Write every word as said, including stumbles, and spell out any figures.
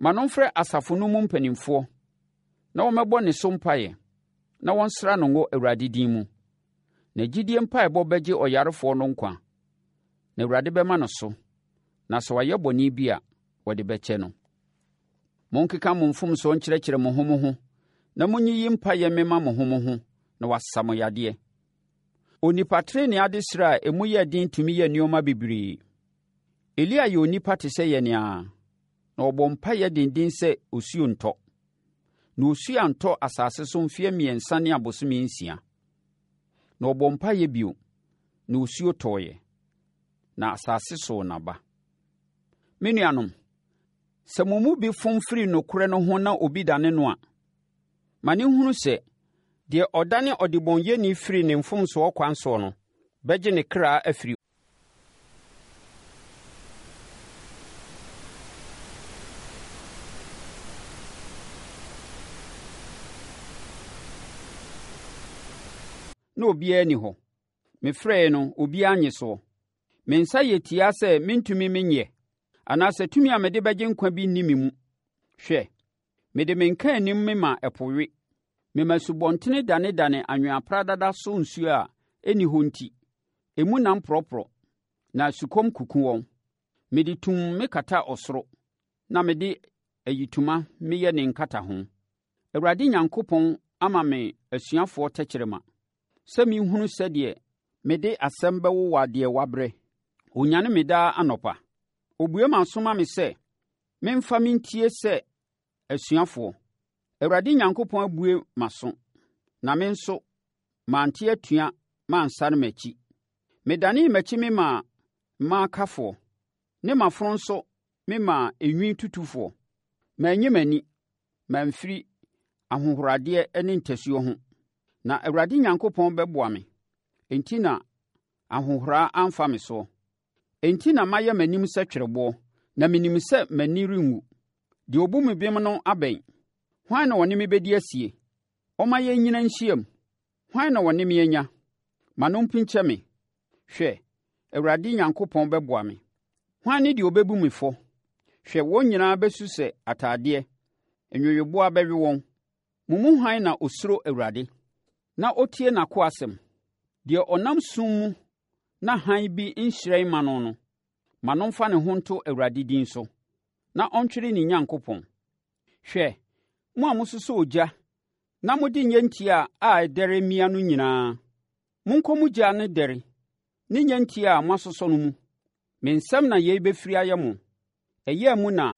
Ma no mfrɛ asafo no mu mpanimfoɔ na wɔmmɛbɔ ne so mpaeɛ na wɔnsra no ngo Awurade din mu. Na gyidie mpaeɛbɔ bɛgye ɔyarefoɔ no nkwa, na Awurade bɛma no so, na sɛ wayɛ bɔne bi a, wɔde bɛkyɛ no. Monkeka mo mfomsoɔ nkyerɛkyerɛ mo ho mo ho, na monyiyi mpaeɛ mmema mo ho mo ho na wɔasa mo yadeɛ. Onipa tenenee adesrɛ a emu yɛ den tumi yɛ nneɛma bebree. Elia yɛ onipa te sɛ yɛn ara, na ɔbɔɔ mpaeɛ denden sɛ osuo ntɔ. Na osuo antɔ asase so mfeɛ mmiɛnsa ne abosome nsia. Na ɔbɔɔ mpaeɛ bio, na osuo tɔeɛ, na asase soo n'aba. Me nuanom, sɛ mo mu bi fom firi nokorɛ no ho na obi dane no a, ma no nhunu sɛ, deɛ ɔdane ɔdebɔneyɛni firi ne mfomsoɔ kwan soɔ no bɛgye ne kra afiri na obiara nni hɔ. Mefrɛeɛ no, obiara annye soɔ. Me nsa yɛ tiaa sɛ mentumi menyɛ, anaasɛ tumi a mede bɛgye nkwa bi nni me mu. Hwɛ, mede me nkaanim mema ɛpo we. Mema asubɔntene danedane anwea pradada so nsuo a ɛnni hɔ nti, emu nam porɔporɔ, na sukɔm kuku wɔn. Mede tumm mekata ɔsoro, na mede ayitoma meyɛ ne nkataho. Awurade Nyankopɔn ama me asuafoɔ tɛkyerɛma, sɛ menhunu sɛdeɛ mede asɛm bɛwowa deɛ wabrɛ. Ɔnyane me daa anɔpa. Ɔbue m'aso ma me sɛ memfa mentie sɛ asuafoɔ. Awurade Nyankopɔn abue m'aso, na me nso mante atua mansane m'akyi. Medanee m'akyi memaa mmaakafoɔ, ne m'afono nso memaa enwi tutufoɔ. Manyi m'ani mamfiri ahohoradeɛ ne ntasuo ho. Na Awurade Nyankopɔn bɛboa me, enti na ahohora amfa me soɔ. Enti na mayɛ m'anim sɛ twerɛboɔ, na menim sɛ m'ani renwu. Deɛ ɔbu me bem no abɛn. Hwan na ɔne me bɛdi asie? Ɔmma yɛnnyina nhyiam. Hwan na ɔne me anya? Ma no mpinkyɛ me. Hwɛ, Awurade Nyankopɔn bɛboa me. Hwan ne deɛ ɔbɛbu me fɔ? Hwɛ, wɔn nyinaa bɛsu sɛ atadeɛ, nweweboaa bɛwe wɔn. Mo mu hwan na ɔsuro Awurade, na ɔtie n'akoa asɛm? Deɛ ɔnam sum mu na hann bi nhyerɛn mma no no, ma no mfa ne ho nto Awurade din so, na ɔntwere ne Nyankopɔn. Hwɛ, mo a mososɔ ogya na mode nnyentia a ɛdɛre mia no nyinaa, monkɔ mo gya ne dɛre ne nnyentia a moasosɔ no mu. Me nsam na yei bɛfiri ayɛ mo. Ɛyea mu na